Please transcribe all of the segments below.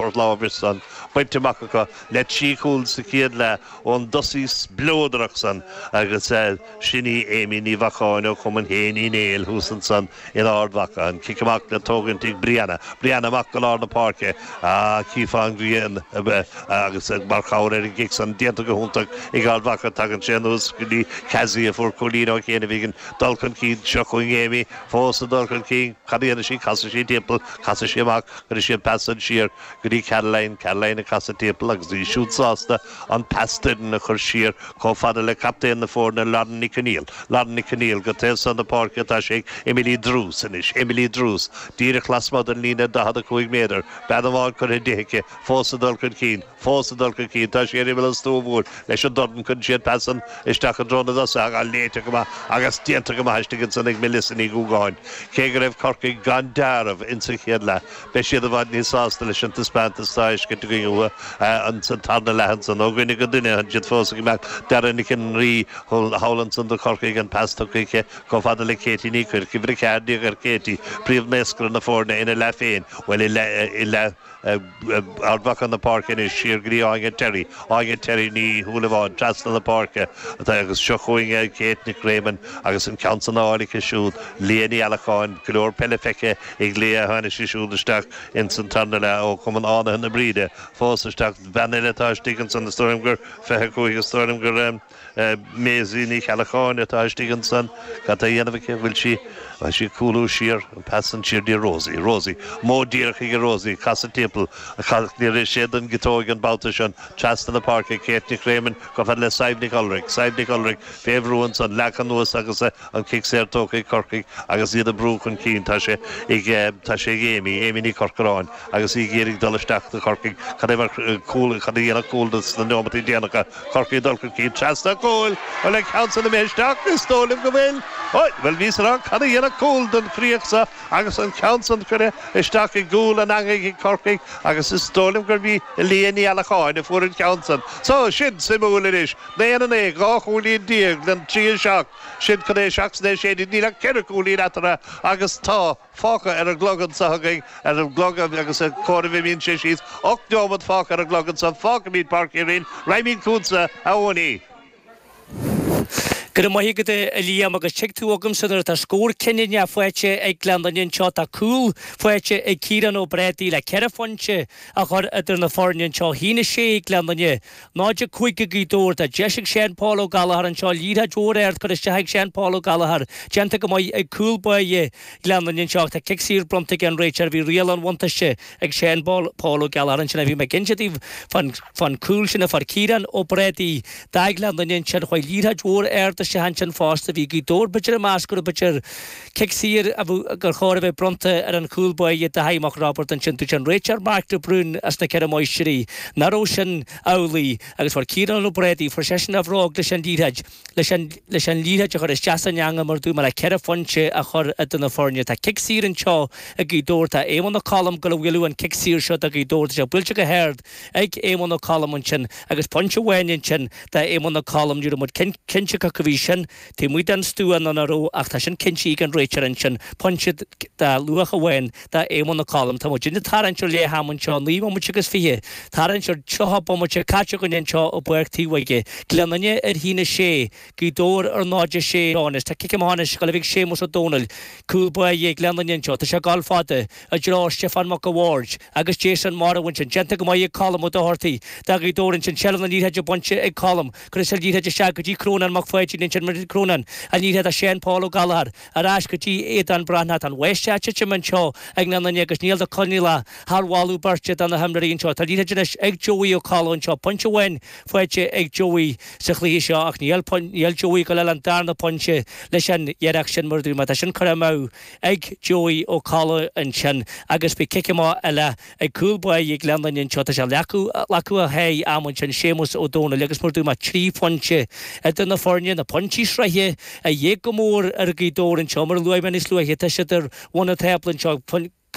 Port Láimhe san bainte amach acu le 3 chúl sa chéad leath ón dtosaí spleodrach san agus sin í Amy Ní Bheacháin ó Chumann Shéain Uí Néill thuas ansan in Ard Mhacha. An cic amach le tógaint ag Brianna. Brianna amach go lár na páirce. Ah, chífeá an ghrian agus mar chabhair ar an gcic san déanta go hiontach ag Ard Mhacha. Tagann sé anuas go dtí Cassie a fuair cúilín ó chianaibh ag an dul chun cinn. Seo chugainn Amy fós ag dul chun cinn. Cad a dhéanfaidh sí? Casfaidh sí timpeall. Casfaidh sí amach. Cuirfidh sí an pas san siar go dtí Caroline. Caroline ag casadh timpeall agus í siúd sásta an pas doirn a chur siar chomh fada le captaen na foirne Lauren Nic Conaill. Lauren Nic Conaill go taobh san na páirce atá sé ag Emily Druce anois. Emily Druce díreach lasmuigh den líne 45 méadar. Bean amháin curtha di aici. Fós ag dul chun cinn. Fós ag dul chun cinn. Tá sí ar imeall an stua mhóir leis an dorn. Cuireann sí an pas san isteach i dtreo na dtosaithe ach léite go maith agus déanta go maith istigh ansan ag Melissa Ní Dhúgáin. Cé go raibh Corcaigh gan deáramh insa chéad leath, beidh siad i bhfad níos sásta leis an taispeántas atá á fheiscint againn uathu insan tarna leath ansan. Ó dhuine go duine, tá siad fós ag imeacht. Dara Nic an Rí thall ansan do Chorcaigh, an pas tugtha aici chomh fada le Katie Ní Chuirc. Uimhir 14 ar Katie, príomhnaoscaire na foirne ina leath féin, bhuel, i leath Ard Mhacha na páirce anois, siar go dtí Áine Terry. Áine Terry Ní Shúilleabháin trasna na páirce atá agus seo chugainn Kate Nic Réamoinn agus an ceann san á fháil aici siúd. Leah Ní Allacháin, go leor peile feicthe ag Leah, tháinig sí siúd isteach ins an tarna leath ó Chumann Fhánaithe na Bríde. Fós isteach, bean eile atá istigh ansan, is dóigh liom gur 25, is dóigh liom gur. Maisie Ní Cheallacháin atá istigh ansan. Cad tá a dhéanamh aici? Bhfuil sí, bhfuil sí ag cúlú siar? An pas san siar dtí Rosie. Rosie. Modh díreach aige Rosie. Casadh timpeall. Níor rith sé don gciotóig an babhta sin. Trasna na páirce. Kate Nic Réamoinn chomh fada le Sadhbh Nic Olraic. Sadhbh Nic Olraic fé bhrú ansan. Leagtha anuas agus an cic saor tógtha ag Corcaigh agus iad ag brú chun cinn. Tá sé ag, tá sé ag Amy. Amy Ní Chorcoráin agus í ag iarraidh dul isteach do Chorcaigh. Cad é mar cúl, cad a dhéanfadh cúl sna neomataí déanacha? Corcaigh ag dul chun cinn trasna an chúil. Bhfuil an ceann san imithe isteach? Is dóigh liom go bhfuil. Oi, bhuel bhíos ag rá cad a dhéanfadh cúl don chríoch seo agus an ceann san curtha isteach i gcúl an eangaigh ag Corcaigh agus is dóigh liom gurb í Leah Ní Allacháin a fuair an ceann san. So, sin suimiúil anois. 9 9, 12 chúilín le 3 7. Sin chun é 7 is é 16. Níl ach ceithre chúilín eatarthu agus tá. fágtha ar an gclog anseo againn, ar an gclog agus ag comhaireamh imíonn sé síos, 8 neomat fágtha ar an gclog anseo, fágfaimid Páirc Chiaráin, raghaimid chugatsa, a Eoiní. Go raibh maith agat a Liam agus tig tú chugamsa nuair atá scór cinniúnach faighte ag Gleann Fhinne anseo. Tá cúl faighte ag Ciarán Ó Brádaigh le ceithre phointe a chur idir na foirne anseo. 1-6 Gleann Fhinne, 0-5 ag Gaoth Dobhair. Tá deis ag Seán Paul Ó Gallchóir anseo, liathróid mhór ard curtha isteach ag Seán Paul Ó Gallchóir, déanta go maith ag cúl báire Ghleann Fhinne anseo ach tá cic saor bronnta ag an réiteoir. Bhí riail an bhuntáiste ag Seán Paul Ó Gallchóir ansin. Bhí mé ag inse daoibh fán chúl sin a fuair Ciarán Ó Brádaigh do Ghleann Fhinne ansin. Chuaigh liathróid mhór ard isteach ansin fosta. Bhí Gaoth Dobhair b'fhéidir ag meas go raibh b'fhéidir cic saor a bheadh gur chóir a bheith bronnta ar an chúl báire Dáithí Mac Roibeaird ansin. Dúirt an réiteoir Mark de Brún as na Ceithre Máistrí nach raibh sin amhlaidh agus fuair Ciarán Ó Brádaigh, fuair seisean a bhróg leis an liathróid. leis an leis an liathróid a chur isteach san eangach mar dúirt mé le ceithre phointe a chur idir na foirne. Tá cic saor anseo ag Gaoth Dobhair. Tá Éamonn Ó Colm ag gabháil a bhualadh an cic saor seo do Ghaoth Dobhair. Tá sé buailte go hard ag Éamonn Ó Colm ansin agus pointe amháin ansin do Éamonn Ó Colm. Ní raibh muid cinnte cé acu a bhí sin taobh amuigh den stua nó nach raibh ach tá sin cinntithe ag an réiteoir ansin. Pointe de luach amháin do Éamonn Ó Colm. Tá muid ag tarraingt ar leath am anseo, 9 mbomaite agus 20, tarraingt ar 30 bomaite caite againn anseo i bPáirc Taobh Bhoige. Gleann Fhinne ar 1-6, Gaoth Dobhair ar 0-6 anois. Tá cic amach anois ag gabháil a bheith ag Séamus Ó Domhnaill, cúl báire Ghleann Fhinne anseo. Tá sé ag gabháil fada i dtreo Stiofán Mac a' Bhaird agus Jason Morrow ansin. Déanta go maith ag Colm Ó Dochartaigh do Ghaoth Dobhair ansin. Seilbh na liathróide bainte ag Colm. Cuireann sé an liathróid isteach go dtí Crónán Mac Pháidín ansin. Crónán, an liathróid do Seán Paul Ó Gallchóir. Ar ais go dtí Aodán Breathnach. Tá an bháisteach ag titim anseo ag nGleann Fhinne agus níl de coinníollacha thar mholadh beirte do na himreoirí anseo. Tá liathróid anois ag Joey Ó Colm anseo. Pointe amháin faighte ag Joey sa chluiche seo ach níl níl Joey ag gabháil a fháil an darna pointe leis an iarracht sin mar a dúirt mé. Tá sin curtha amú ag Joey Ó Colm ansin agus beidh cic amach eile Ag cúl báire Ghleann Fhinne anseo, tá sé leagtha a haghaidh am ansin, Séamus Ó Domhnaill agus mar a dúirt mé, 3 phointe idir na foirne, na pointí sraithe a dhíth go mór ar Ghaoth Dobhair anseo, mar a luaigh mé níos luaithe, tá siad ar bhun an tábla anseo.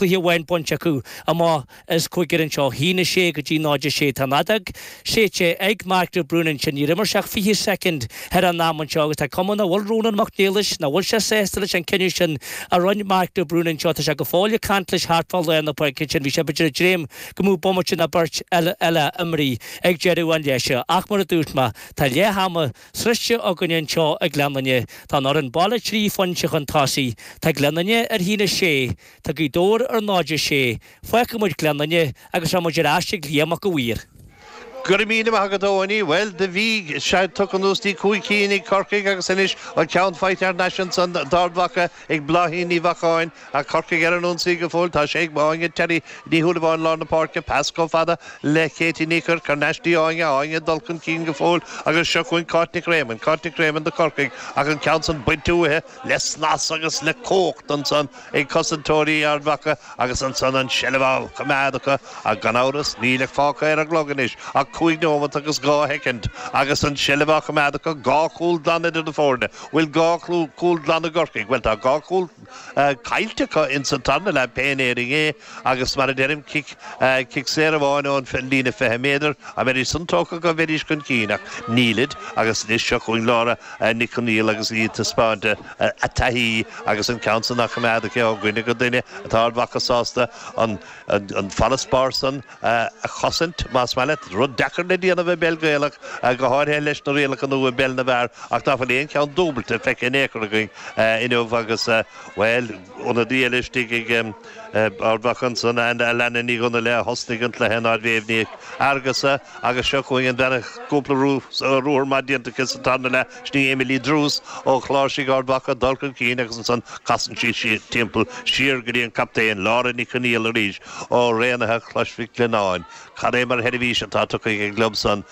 cluiche amháin bainte acu amach as cúigear anseo, 1-6 go dtí 0-6. Tá an fheadóg séidte ag Mark de Brún ansin. Níor imir sé ach 20 soicind thar an am anseo agus tá cuma nach bhfuil Rónán Mac Niallais, nach bhfuil sé sásta leis an cinneadh sin a rinne Mark de Brún anseo. Tá sé go fóill ag caint leis thart fá lár na páirce ansin. Bhí sé b'fhéidir ag dréim go mbeadh bomaite nó beirt eile imrithe ag deireadh an leath seo. Ach mar a dúirt mé, tá leath ama sroichte againne anseo i nGleann Fhinne. Tá an fhoireann baile trí phointe chun tosaigh. Tá Gleann Fhinne ar 1-6. Tá Gaoth Dobhair ar 0-6. Fágfaidh muid Gleann Fhinne agus rachaidh muid ar ais ag Liam Mac a' Mhaoir. Go raibh míle maith agat Eoiní. Bhuel, do bhí sé tugtha anuas dtí 5 cinn ag Corcaigh agus anois an ceann faighte thar n-ais ansan d'Ard Mhacha ag Bláithín Ní Bheacháin ach Corcaigh ar an ionsaí go fóill. Tá sé ag Áine Terry Ní Shúilleabháin lár na páirce, pas chomh fada le Katie Ní Chuirc thar n-ais dtí Áine, Áine ag dul chun cinn go fóill agus seo chugainn Cáit Nic Réamoinn, Cáit Nic Réamoinn do Chorcaigh ach an ceann san bainte uaithi le snas agus le cumhacht ansan ag cosantóirí Ard Mhacha agus ansan an tseilbh á choimeád acu ach gan amhras níl ach fágtha ar an gclog anois ach 5 nóimeat agus 2 shoicind agus an tseilbh á choimeád acu, dhá chúl glan idir na foirne. Bhfuil dhá chúl glan i gCorcaigh? Bhuel tá dhá chúl caillte acu ins an tarna leath pé in Éirinn é agus mar a deirim cic cic saor amháin ón líne 20 méadar, dá mbeidís san tógtha acu bheidís chun cinn ach nílid agus anois seo chugainn Laura Nic Conaill agus í ag taispeáint a taithí agus an ceann san á choimeád aici ó dhuine go duine atá Ard Mhacha sásta an farasbarr san a chosaint, más maith leat. Rud deacair le déanamh i bpeil Ghaelach, go háirithe leis na rialacha nua i bpeil na bhfear ach ná fuil aon cheann dúbailte feicthe in aon chor againn inniu agus, bhuel, ionadaí eile istigh ag Ard Mhacha ansan, Alana Ní Dhonnaile a thosnaigh an cluiche in áit Mhéabh Ní Fhearghusa agus seo chugainn an bhean a cúpla ruathar maith déanta aici sa tarna leath, sin í Emily Druce ó Chláirsigh Ard Mhacha, dul chun cinn agus ansan casann sí timpeall siar go dtí an captaen, Laura Nic Conaill arís ó Raonaithe Chrois Mhic Lionnáin. Cad é mar sheirbhís atá tugtha ag an gclub san,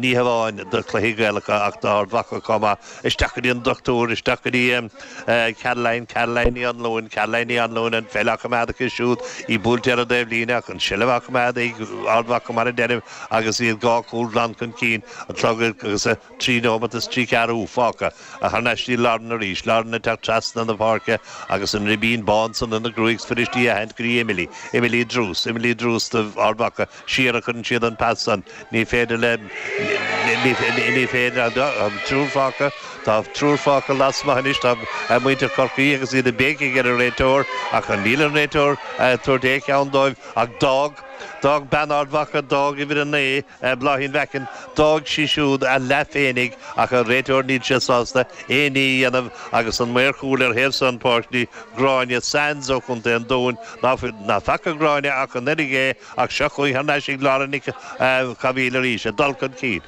ní hamháin do chluichí Gaelacha ach d'Ard Mhacha chomh maith. Isteach go dtí an dochtúir, isteach go dtí Caroline, Caroline Ní Anluain, Caroline Ní Anluain, an pheil á choimeád aici siúd, í buailte ar an dtaobhlíne ach an tseilbh á choimeád ag Ard Mhacha mar a deirim agus iad dhá chúl glan chun cinn, an clog agus 3 nóimeat is 3 ceathrú fágtha. Thar n-ais dtí Lauren arís, Lauren ag teacht trasna na páirce agus an ribín bán san ina gruaig is fuirist í a aithint go dtí Emily, Emily Druce, Emily Druce do Ard Mhacha. Siar a chuireann siad an pas san. Ní féidir le, ní féidir, tá triúr fágtha, tá triúr fágtha lasmuigh anois, tá muintir Chorcaí agus iad ag béicigh ar an réiteoir ach níl an réiteoir ag tabhairt aon cheann dóibh ach d'fhág, d'fhág bean Ard Mhacha, d'fhág uimhir 9, Bláithín Mhackin, d'fhág sí siúd a leath féinig ach an réiteoir níl sé sásta aon ní a dhéanamh agus an maor cúil ar thaobh san páirc í Gráinne Sands ó Chontae an Dúin, ná faca Gráinne ach an oiread é ach seo chugainn thar n-ais ag Laura Nic Cathmhaoil arís ag dul chun cinn.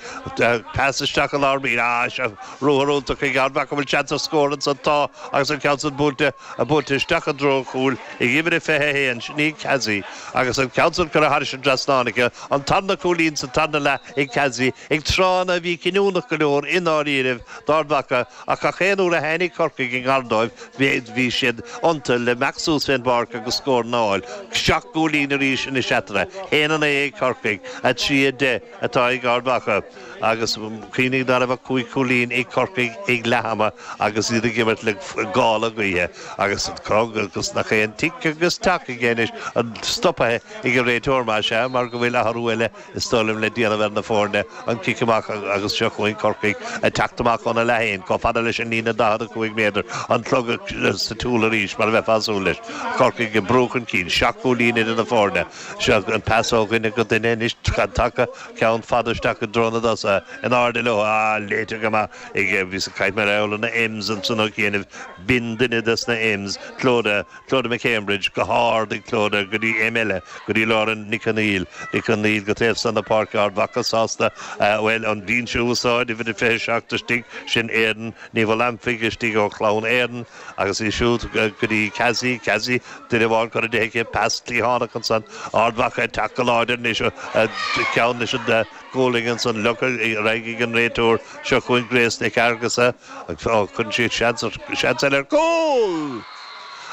Pas isteach i lár bír. Ah, seo ruathar iontach ag Ard Mhacha, an bhfuil seans ar scór ansan? Tá agus an ceann san buailte, buailte isteach i dtreo an chúil ag uimhir a 21, sin í Cassie agus an ceann san curtha thairis an dtrasnán aici. An tarna cúilín sa tarna leath ag Cassie ag tráthanna a bhí cinniúnach go leor i ndáiríribh d'Ard Mhacha ach gach aon uair a tháinig Corcaigh i ngar dóibh bhí siad iontu le imeacht suas fén bpáirc agus scóranna a fháil. Seacht gcúilín arís anois eatarthu. 1-9 ag Corcaigh, 3-10 atá ag Ard Mhacha agus cuimhnigh ná raibh ach cúig chúilín ag Corcaigh ag leath ama agus iad ag imirt le gála gaoithe agus agus nach é an tic agus tac aige anois an stoptha ag an réiteoir más ea mar go bhfuil athrú eile is dóigh liom le déanamh ar na foirne, an cic amach agus seo chugainn Corcaigh ag teacht amach óna leath féin, chomh fada leis an líne 45 méadar, an clog sa tsiúl arís mar a bheifeá ag súil leis. Corcaigh ag brú chun cinn, seacht gcúilín idir na foirne. Seo an pas ó dhuine go duine anois, tagtha ceann fada isteach i dtreo na dtosaithe, in airde leo, ah, léite go maith ag, bhíos ag caint mar gheall ar na M's ansan ó chianaibh, b'in duine des na M's, Clodagh. Clodagh McCambridge, go hard ag Clodagh go dtí M eile, go dtí Lauren Nic Conaill, Nic Conaill go taobh san na páirce, Ard Mhacha sásta, bhuel, an binse a úsáid, uimhir a 27 istigh, sin Éadan Ní Mhallamphaigh istigh ó Chlann Éadan agus í siúd go dtí Cassie, Cassie, duine amháin curtha di aici, pas cliathánach ansan, Ard Mhacha ag teacht go láidir anois, ceann leis an gualainn ansan, leagtha ar aghaidh ag an réiteoir, seo chugainn Grace Nic Fhearghusa, cuireann sí seans eile ar cúl!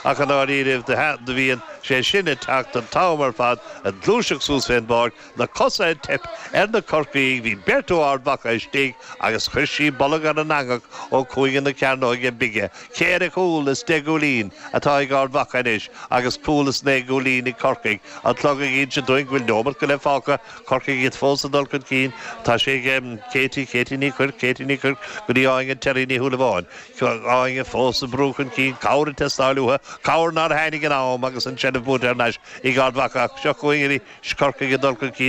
Ach i ndáiríribh do bhíonn sé sin ag teacht an t-am ar fad ag gluaiseacht suas fén bpáirc, na cosa ag teip ar na Corcaígh, bhí beirt ó Ard Mhacha istigh agus chuir sí bolg ar an eangach ó chúinne na cearnóige bige. Ceithre chúl is deich gcúilín atá ag Ard Mhacha anois agus cúl is naoi gcúilín ag Corcaigh. An clog ag inse dúinn go bhfuil neomat go leith fágtha. Corcaigh iad fós ag dul chun cinn. Tá sé ag Katie, Katie Ní Chuirc, Katie Ní Chuirc go dtí Áine Terry Ní Shúilleabháin. Áine fós ag brú chun cinn, cabhair ag teastáil uathu, cabhair nár tháinig in am agus an tseilbh buaite thar n-ais ag Ard Mhacha ach seo chugainn arís Corcaigh ag dul chun cinn.